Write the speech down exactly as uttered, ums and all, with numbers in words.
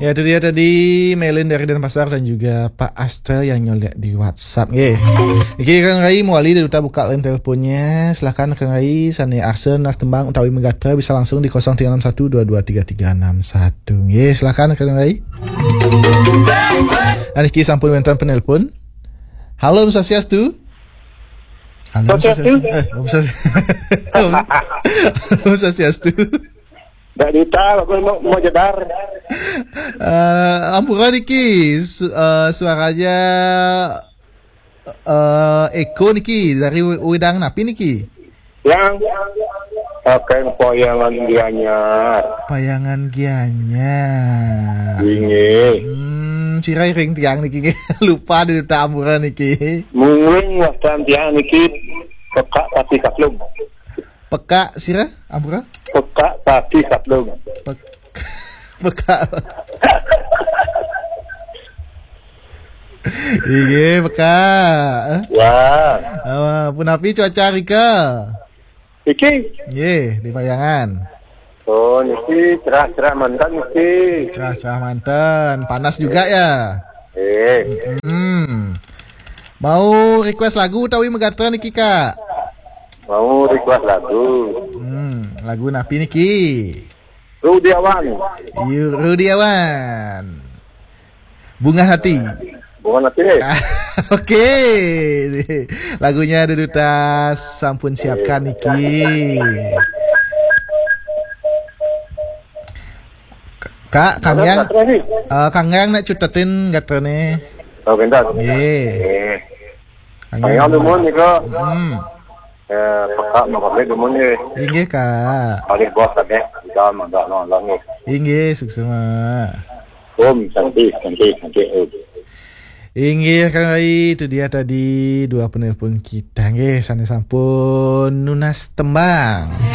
Ya, itu dia tadi Melin dari Denpasar dan juga Pak Aster yang nyolek di WhatsApp. Nggih. Niki Kang Rai mawali dari duta buka line teleponnya. Silakan Kang Rai, sane arsa nunas tembang utawi megatra bisa langsung di kosong tiga enam satu dua dua tiga tiga enam satu. Nggih, silakan Kang Rai. Nah, niki sampun wenten penelpon. Halo, Om Swastiastu. Halo, Om Swastiastu. Swastiastu. Eh, Om Swastiastu. Om Swastiastu. Dak Dita, aku mau, mau jedar. Eh, ampura niki, su- eh, suaranya eh, eko niki dari we- wedang napi niki? Yang pakai payangan Gianyar. Payangan Gianyar. Inggih. Hmm, sira ring tiang niki nggih. Lupa di duta ampura niki. Mungkin wastan tiang niki pekak pati kaplung. Pekak sira ampura? Pekak pati kaplung. Pek- pekak. Inggih, pekak. Ya. Ah, punapi cuaca rika? Iki? Nggih, di Payangan. Oh, niki cerah-cerah mantan niki. Cerah-cerah mantan, panas juga ya. Eh. Hmm. Mau request lagu utawi megatra niki, Kak? Mau request lagu. Hmm, lagu napi niki? Rudiawan. Yu- Rudiawan. Bunga Hati. Bunga Hati. Oke. Lagunya ada duta sampun siapkan niki. Kak, Kang Yang, eh, Kang Yang nak cutetin gatrane. Oh, bentar. Nggih. Eh. Kang Yang Yang dumun nika. Hmm. Eh, pekak mau pamit dumun nggih. Inggih, Kak. Balik bos tadi. Kita mangga nonton nggih. Inggih, suksma. Om Santi, Santi, Santi, Om. Inggih, Kang Rai, itu dia tadi dua penelpon kita nggih, sane sampun nunas tembang.